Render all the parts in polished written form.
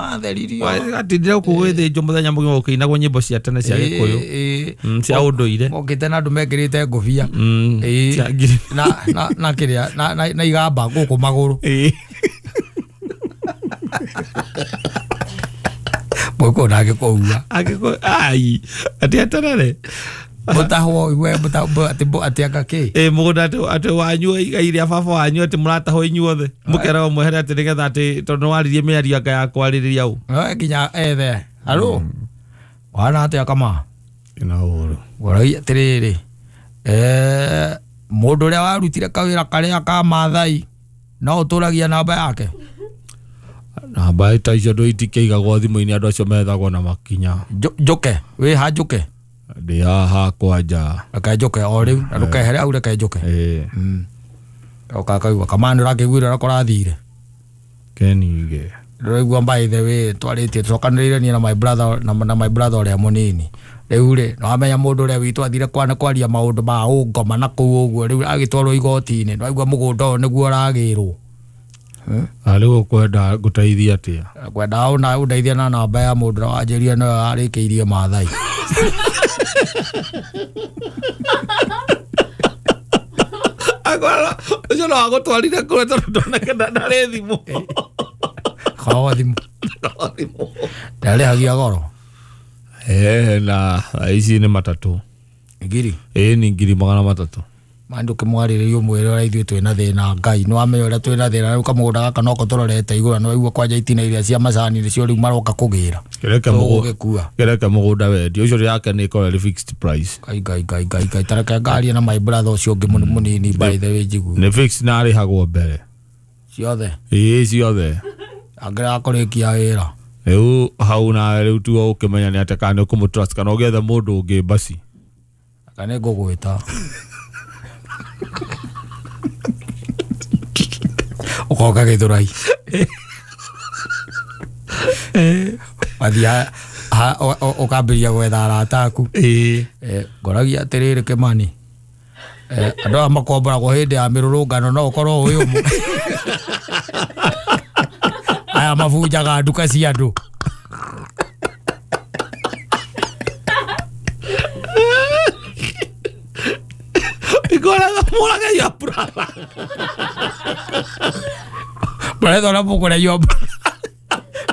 Matheririo. Atindire gũkũ gwĩthĩnjwo mũthenya mũgima gũkĩinagwo nyĩmbo cia tene cia Gĩkũyũ. Cia ũndũire. Mokĩte na andũ mekĩrĩte ngũbia. Cia ngiri. Na kĩrĩa na igamba gũkũ magũrũ. Mũgĩkũyũ na angĩkũua. Angĩkũyũ ai atĩ eterere. Mũtahwo iwe atĩ anga kĩ? Mũgũnda atĩ wanyu igai rĩa baba wanyu atĩ mũratahwo inyuothe. Mũkeragwo mwehere atĩ nĩgetha atĩ tondũ nĩwaririe mĩario anga ya kwarĩrĩria ũ. Nginya ethe. Haro. Wana atĩa kama? Ina ũhoro. Ngũragia atĩrĩrĩ. Mũndũ ũrĩa warutire kawĩra karĩa ka Maathai no ũtũragia namba yake? Namba ta icio andũ itikĩigagwo thimũ-inĩ andũ acio methagwo na makinya. Njũke, wĩ ha njũke? Ndĩ haha kwanja. Reke njũke o rĩu na ndũkehere hau reke njũke. Oka kaigua kama nĩ ũrakĩiguire ũrĩa kũrathire. Kenige. Ndĩraigua by the way twarĩtie tũcokanĩrĩire niĩ na my brother na my brother ũrĩa mũnini. Rĩu rĩ nĩwamenya mũndũ ũrĩa witũ athire kwaria maũndũ ma ũngoma na kũu ũguo rĩu agĩtwarwo igoti-inĩ nĩwaigua mũgũnda ũyũ nĩguo ũragĩrwo. Rĩu ũkwenda ngũteithie atĩa? Ngwenda ũndeithie na namba ya mũndũ ũrĩa wanjĩrire nĩwe warĩkĩirie Maathai. Akwara ũcio no agũtwarire kũrĩa tondũ ndoneke ndarĩ thimũ. Korwo thimũ. Ndarĩhagia goro. Na ici nĩ matatũ. Ngiri? Nĩ ngiri magana matatũ. Ma ndũkĩmwarĩrĩrie ũmwĩre ũrĩa ithuĩ twĩna thĩna Ngai nĩwamenya ũrĩa twĩna thĩna rĩu kamũgũnda gaka noko tũrorete igũrũ na nĩwaigua kwanja itina iria cia macani nĩcio rĩu maroka kũgĩra. Tũgũgĩkua. Kĩreke mũgũnda wendio ũcio yake nĩ ĩkoragwo ĩrĩ fixed price. Ngai Ngai Ngai Ngai Ngai tareke ngarie na my brother ũcio ũngĩ mũnini by the way njigue. Nĩ fixed na arĩhagwo mbere. Ciothe? Ĩĩ ciothe. Angĩrega kũrĩkia wĩra. Rĩu hau nawe rĩu tiwe ũkĩmenya nĩ atĩa kana nĩ ũkũmũ-trust kana ũgĩethe mũndũ ũngĩ basi. Kana nĩ ngũgwĩta. Ũkoka Gĩthũrai. Wathiĩ ũkambĩrĩria gwetha arata aku. Ngoragia atĩrĩrĩ Kĩmani. Andũ aya makomboragwo hĩndĩ ya mĩrũrũngano no ũkorwo ũĩ ũmwe. Aya mabunjaga nduka cia andũ. Mũraga your brother. Mũretha ũrĩa mũkũrĩa your brother.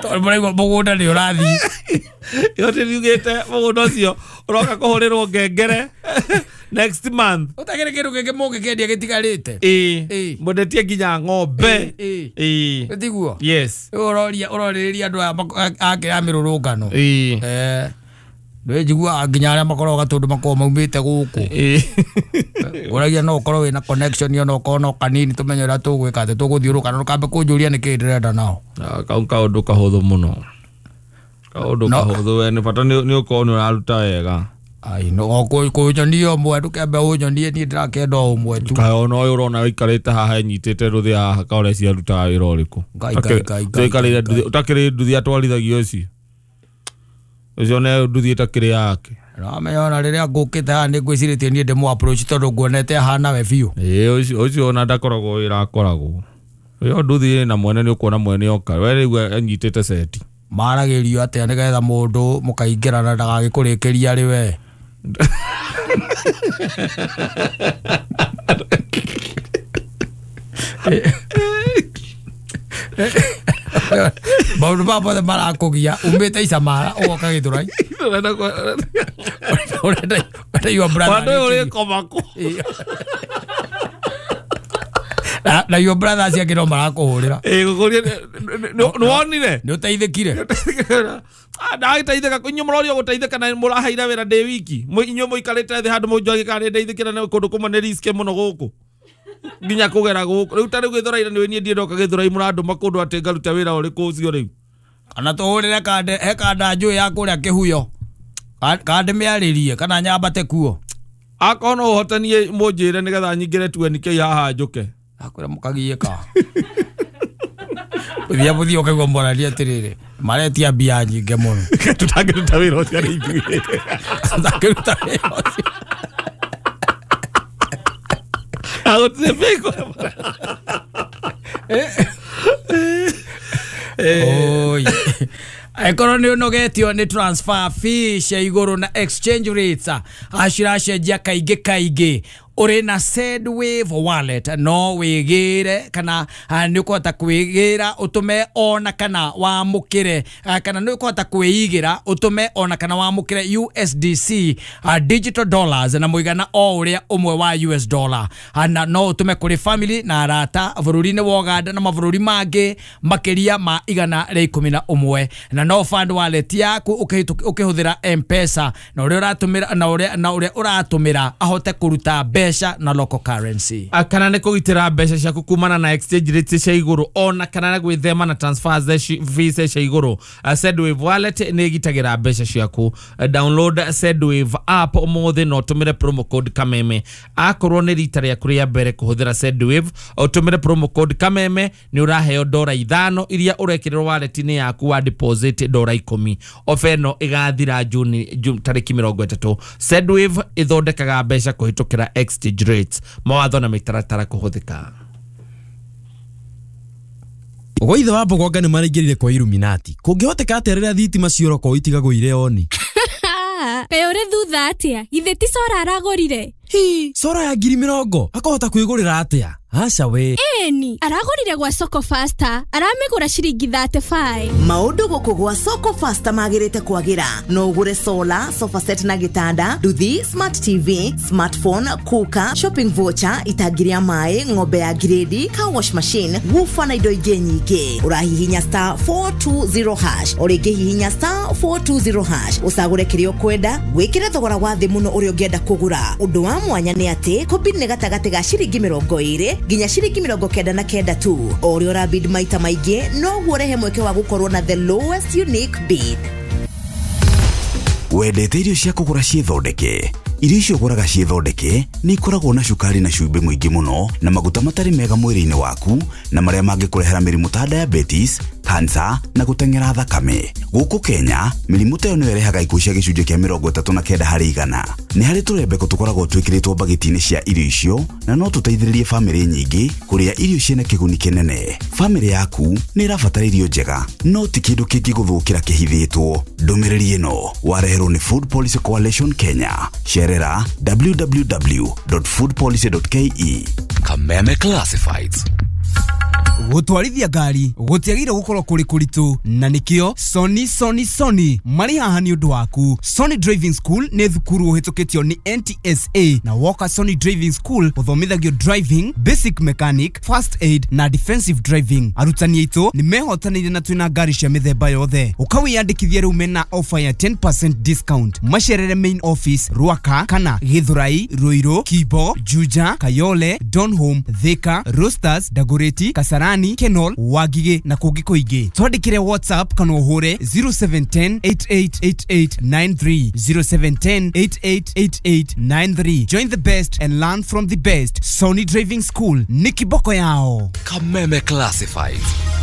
Tondũ mũraigua mũgũnda nĩ ũrathiĩ. Yote nĩugĩte mũgũnda ũcio ũroka kũhũrĩrwo ngengere next month. Ũtagĩrĩ kĩndũ kĩngĩ mũngĩkĩendia gĩtigarĩte. Mwendetie nginya ng'ombe. Tiguo? Yes. Rĩu ũroria ũrorĩrĩria andũ aya a mĩrũrũngano. Njiguaga nginya arĩa makoragwo gatũndũ makoragwo maumĩte gũkũ. Ũragia no ũkorwo wĩna connection ona okorwo no kanini tũmenye ũrĩa tũgwĩka atĩ tũgũthiũrũka na ndũkambe kũnjũria nĩkĩĩ ndĩrenda nao. Kau kaũndũ kahũthũ mũno. Kaũndũ kahũthũ we nĩ bata nĩ ũkorwo nĩ ũraruta wega. Ai no kũnyonia ũmwe ndũkembe ũnyonie niĩ ndĩrakĩenda o ũmwe tu. Kaĩ ona ũyũ ũrona ũikarĩte haha enyitĩte rũthĩa haha ka ũreciria arutaga wĩra ũrĩkũ? Ngai Ngai Ngai. Ũtakĩrĩ nduthi atwarithagio ũcio. Ũcio nĩ nduthi ĩtakĩrĩ yake. Nĩwamenya ona rĩrĩa ngũkĩte haha nĩ ngwĩcirĩtie niĩ ndĩmũ approach tondũ nguonete ahana we biũ. Ũcio ona ndakoragwo wĩra akoragwo. Ĩyo nduthi ĩna mwene nĩ ũkuona mwene oka. We rĩu anyitĩte seti. Maragĩrio atĩa nĩgetha mũndũ mũkaingĩrana ndagagĩkũrĩkĩria arĩ we? Maũndũ maya mothe marakũgia umĩte Icamara ũgoka Gĩthũrai. Ũrenda your brother Wandũ ũyũ ũrĩkoma kũ? Na your brother acio angĩ no marakũhũrĩra. Gũkũria nĩwonire? Nĩ ũteithĩkire? Ndagĩteithĩka inyuĩ mũrorio gũteithĩka na mũraheire wĩra ndĩ wiki. Inyuĩ mũikarĩte thĩ handũ mũnjogie kana nĩ ndeithĩkire na kũndũ kũmwe nĩ risk mũno gũkũ. Nginya kũgera gũkũ. Rĩu ta rĩu Gĩthũrai nĩ niĩ ndiĩ ndoka Gĩthũrai mũrandũma kũndũ atĩ ngaruta wĩra ũrĩkũ ũcio rĩu. Kana tũhũrĩre kande he kanda njũĩ ya kũrĩa Kĩhuyo. Kande mĩarĩrie kana nyambate kuo. Akorwo no ũhote niĩ mũnjĩre nĩgetha nyingĩre 20K haha njũke. Akwĩra mũkagiĩka. Ũthiĩ mũthiĩ ũkaigua mwarania atĩrĩrĩ maretia mbia nyingĩ mũno. Tũtangĩruta wĩra ũcio nĩ ithuĩ. Tũtangĩruta wĩra ũcio. Agũtirĩ bĩko. Oi. Angĩkorwo nĩ ũnogetio nĩ transfer fee cia igũrũ na exchange rates aciracenjia kaingĩ kaingĩ, ũrĩ na Sendwave wallet no wĩgĩre kana nĩ ũkũhota kwĩgĩra ũtũme ona kana wamũkĩre, kana nĩ ũkũhota kwĩigĩra ũtũme ona kana wamũkĩre USDC digital dollars na mũigana o ũrĩa ũmwe wa US dollar, na no ũtũme kũrĩ family na arata bũrũri-inĩ wa Uganda na mabũrũri mangĩ makĩria ma 111, na no fund wallet yaku ũkĩhũthĩra M-Pesa na ũrĩa ũratũmĩra na ũrĩa ũratũmĩra ahote kũruta mbeca na local currency. Kana nĩ kũgitĩra mbeca ciaku kumana na exchange rates cia igũrũ ona kana na gwĩthema na transfers fees cia igũrũ, Sendwave wallet nĩ ĩgitagĩra mbeca ciaku. Download Sendwave app ũmũthĩ na ũtũmĩre promo code Kameme. Akorwo nĩ rita rĩaku rĩa mbere kũhũthĩra Sendwave, ũtũmĩre promo code Kameme nĩ ũraheo $5 iria ũrekĩrĩrwo wallet-inĩ yaku wa deposit $10. Ofa ĩno ĩgathira Juni tarĩki 30. Sendwave ĩthondekaga mbeca kũhĩtũkĩra exchange rates. Mawatho na mĩtaratara kũhũthĩka. Gwa ithe wa Mbogonga nĩ maraingĩrire kwa Illuminati. Kũngĩhoteka atĩa rĩrĩa thitima cioroko itigagwo oni? Kaĩ ũrĩ thutha atĩa? Githĩ ti cora aragũrire? Hi, cora ya 20,000 akahota kwĩgũrĩra atĩa? Aca we. Ĩni, aragũrire gwa Soko Faster, aramĩgũra ciringi 35. Maũndũ gũkũ gwa Soko Faster magĩrĩte kwagĩra. No ũgũre solar, sofa set na gĩtanda, nduthi, smart TV, smartphone, cooker, shopping voucher, itangi rĩa maĩ, ng'ombe ya grade, car wash machine, woofer na indo ingĩ nyingĩ. Ũrahihinya star 420 hash, o rĩngĩ hihinya star 420 hash, ũcagũre kĩrĩa ũkwenda, wĩkĩre thogora wa thĩ mũno ũrĩa ũngĩenda kũgũra. Ũndũ wa mwanya nĩ atĩ kũbid nĩ gatagatĩ ga ciringi 20 nginya ciringi 99 tu. O ũrĩa ũrabid maita maingĩ noguo ũrehe mweke wa gũkorwo na the lowest unique bid. Wendete irio cia kũgũra ciĩthondeke? Irio icio ũgũraga ciĩthondeke nĩ ikoragwo na cukari na cumbĩ mũingĩ mũno na maguta matarĩ mega mwĩrĩ-inĩ waku na marĩa mangĩkũrehera mĩrimũ ta diabetes, cancer na gũteng'era thakame. Gũkũ Kenya, mĩrimũ ta ĩyo nĩyo ĩrehaga ikuũ cia gĩcunjĩ kĩa 39 harĩ igana. Nĩ harĩ tũrembeko tũkoragwo twĩkĩrĩtwo mbagiti-inĩ cia irio icio na no tũteithĩrĩrie bamĩrĩ nyingĩ kũrĩa irio ciĩna kĩguni kĩnene. Bamĩrĩ yaku nĩ ĩrabatara irio njega, no ti kĩndũ kĩngĩgũthũkĩra kĩhithĩtwo. Ndũmĩrĩri ĩno wareherwo nĩ Food Policy Coalition Kenya. Cerera www.foodpolicy.ke. Kameme Classifieds. Gũtwarithia ngari gũtiagĩrĩire gũkorwo kũrĩ kũritũ, na nĩkĩo Sony Sony Sony marĩ haha nĩ ũndũ waku. Sony Driving School nĩ thukuru ũhĩtũkĩtio nĩ NTSA, na woka Sony Driving School ũthomithagio driving, basic mechanic, first aid na defensive driving. Arutani aitũ nĩ mehotanĩire na twĩna ngari cia mĩthemba yothe. Ũkawĩyandĩkithia rĩu mena offer ya 10% discount. Macerere main office Ruaka kana Githurai, Ruiru, Kibo, Juja, Kayole, Donholm, Thika, Roasters, Dagoretti, Kasarani, Kenol, Wangige na kũngĩ kũingĩ. Twandĩkĩre WhatsApp kana ũhũre 0710 888893, 0710 888893. Join the best and learn from the best. Sony Driving School nĩ kiboko yao. Kameme Classifieds.